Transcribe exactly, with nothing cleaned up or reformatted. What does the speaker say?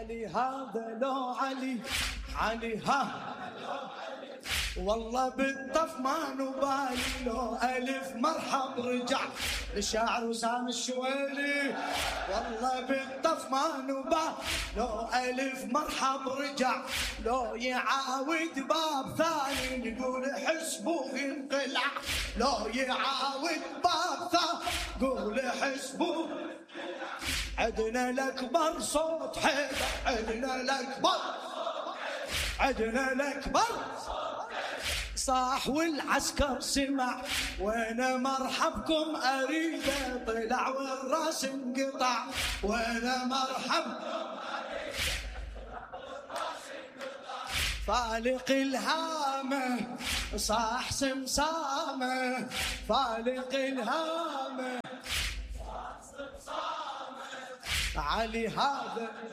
علي هذا لو علي علي ها والله بالطف ما نبالي لو ألف مرحب رجع للشاعر وسام الشويلي. والله بالطف ما نبالي لو ألف مرحب رجع لو يعاود باب ثاني نقول حسبه انقلع. لو يعاود باب ثاني قول حسبه. عدنا الأكبر صوت حيدر عدنا الأكبر عدنا الأكبر صاح والعسكر سمع وين مرحبكم أريده طلع والراس انقطع. وين مرحب فالق الهامة صاح سمسامة فالق الهامة علي هذا